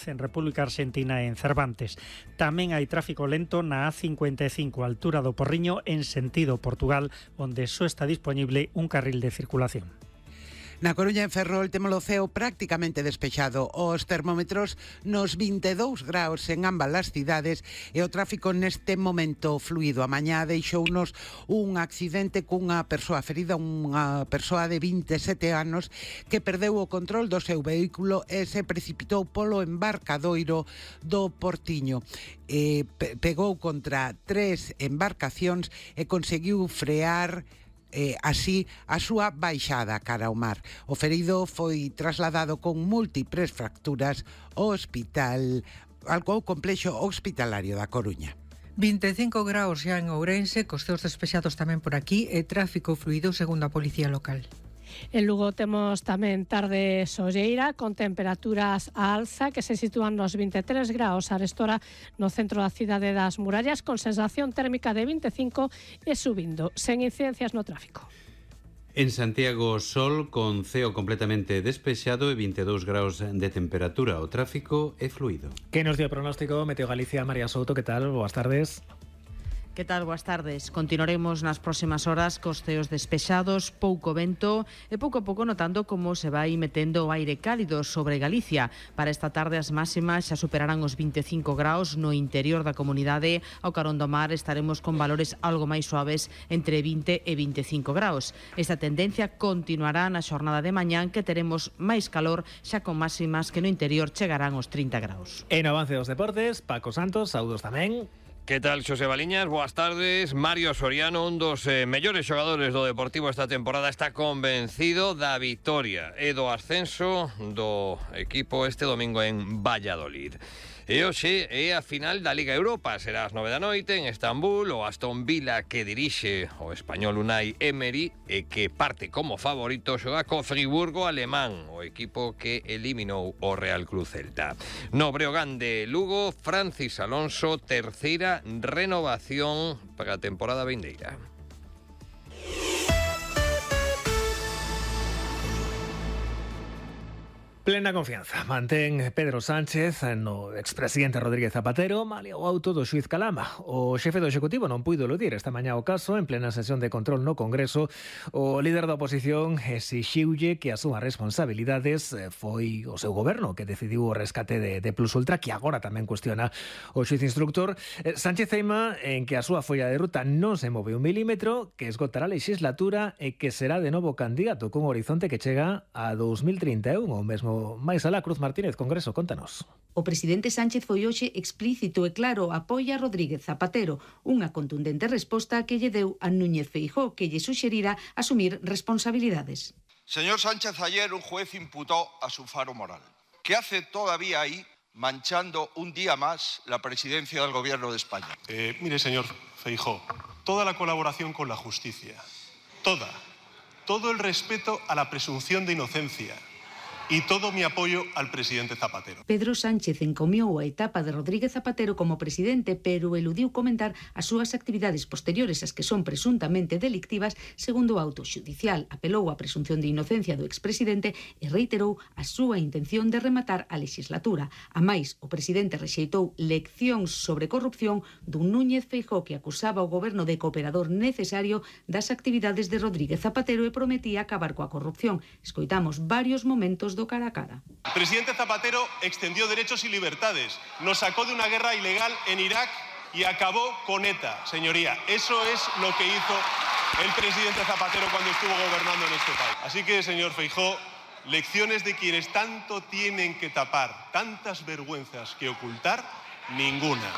en República Argentina e en Cervantes. Tamén hai tráfico lento na A55, altura do Porriño, en sentido Portugal, onde só está disponible un carril de circulación. Na Coruña en Ferrol temos o ceo prácticamente despexado. Os termómetros nos 22 graus en ambas as cidades e o tráfico neste momento fluido. A mañá deixounos un accidente cunha persoa ferida, unha persoa de 27 anos que perdeu o control do seu vehículo e se precipitou polo embarcadoiro do Portiño. Pegou contra 3 embarcacións e conseguiu frear así a súa baixada cara ao mar. O ferido foi trasladado con múltiples fracturas ao complexo hospitalario da Coruña. 25 graus xa en Ourense, cos ceos despexados tamén por aquí e tráfico fluido segundo a Policía Local. En Lugo temos tamén tarde solleira con temperaturas a alza que se sitúan nos 23 graus arestora no centro da cidade das Murallas, con sensación térmica de 25 e subindo, sen incidencias no tráfico. En Santiago, sol con ceo completamente despexado e 22 graus de temperatura. O tráfico é fluido. Que nos dio o pronóstico Meteo Galicia? María Souto, que tal? Boas tardes. Que tal? Boas tardes. Continuaremos nas próximas horas cos ceos despexados, pouco vento e pouco a pouco notando como se vai metendo o aire cálido sobre Galicia. Para esta tarde as máximas xa superarán os 25 graus no interior da comunidade. Ao carón do mar estaremos con valores algo máis suaves entre 20 e 25 graus. Esta tendencia continuará na xornada de mañán, que teremos máis calor, xa con máximas que no interior chegarán aos 30 graus. En avance dos deportes, Paco Santos, saúdos tamén. Que tal, Xosé Baliñas? Boas tardes. Mario Soriano, un dos mellores xogadores do Deportivo esta temporada, está convencido da vitoria e do ascenso do equipo este domingo en Valladolid. E hoxe é a final da Liga Europa. Será ás 9 da noite en Estambul. O Aston Villa, que dirixe o español Unai Emery e que parte como favorito, xoga co Friburgo alemán, o equipo que eliminou o Real Cruz Celta. No Breogán de Lugo, Francis Alonso, terceira renovación para a temporada vindeira. Plena confianza mantén Pedro Sánchez no expresidente Rodríguez Zapatero malia o auto do xuiz Calama. O xefe do Executivo non puido eludir esta mañá o caso en plena sesión de control no Congreso. O líder da oposición exixiulle que as súas responsabilidades foi o seu goberno que decidiu o rescate de Plus Ultra, que agora tamén cuestiona o xuiz instructor. Sánchez teima en que a súa folla de ruta non se move un milímetro, que esgotará a legislatura e que será de novo candidato cun horizonte que chega a 2031, o mesmo máis alá. Cruz Martínez, Congreso, contanos. O presidente Sánchez foi hoxe explícito e claro, apoia a Rodríguez Zapatero, unha contundente resposta que lle deu a Núñez Feijóo, que lle suxerira asumir responsabilidades. Señor Sánchez, ayer un juez imputó a su faro moral. ¿Qué hace todavía ahí manchando un día más la presidencia del Gobierno de España? Mire, señor Feijóo, toda la colaboración con la justicia, todo el respeto a la presunción de inocencia y todo mi apoyo al presidente Zapatero. Pedro Sánchez encomiou a etapa de Rodríguez Zapatero como presidente, pero eludiu comentar as súas actividades posteriores, as que son presuntamente delictivas, segundo o auto xudicial. Apelou á presunción de inocencia do expresidente e reiterou a súa intención de rematar a legislatura. A máis, o presidente rexeitou leccións sobre corrupción dun Núñez Feijóo que acusaba o goberno de cooperador necesario das actividades de Rodríguez Zapatero e prometía acabar coa corrupción. Escoitamos varios momentos do cara a cara. El presidente Zapatero extendió derechos y libertades, nos sacó de una guerra ilegal en Irak y acabó con ETA, señoría. Eso es lo que hizo el presidente Zapatero cuando estuvo gobernando en este país. Así que, señor Feijóo, lecciones de quienes tanto tienen que tapar, tantas vergüenzas que ocultar, ninguna.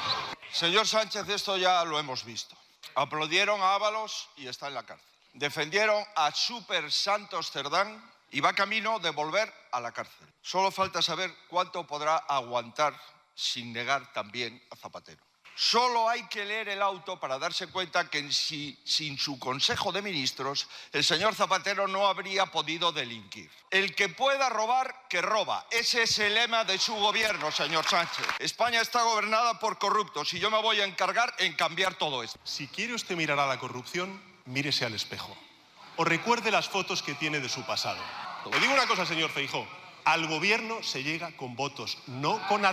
Señor Sánchez, esto ya lo hemos visto. Aplaudieron a Ábalos y está en la cárcel. Defendieron a Super Santos Cerdán y va camino de volver a la cárcel. Solo falta saber cuánto podrá aguantar sin negar también a Zapatero. Solo hay que leer el auto para darse cuenta que sin su Consejo de Ministros el señor Zapatero no habría podido delinquir. El que pueda robar, que roba. Ese es el lema de su gobierno, señor Sánchez. España está gobernada por corruptos y yo me voy a encargar en cambiar todo esto. Si quiere usted mirar a la corrupción, mírese al espejo. O recuerde las fotos que tiene de su pasado. Le digo una cosa, señor Feijóo. Al gobierno se llega con votos, no con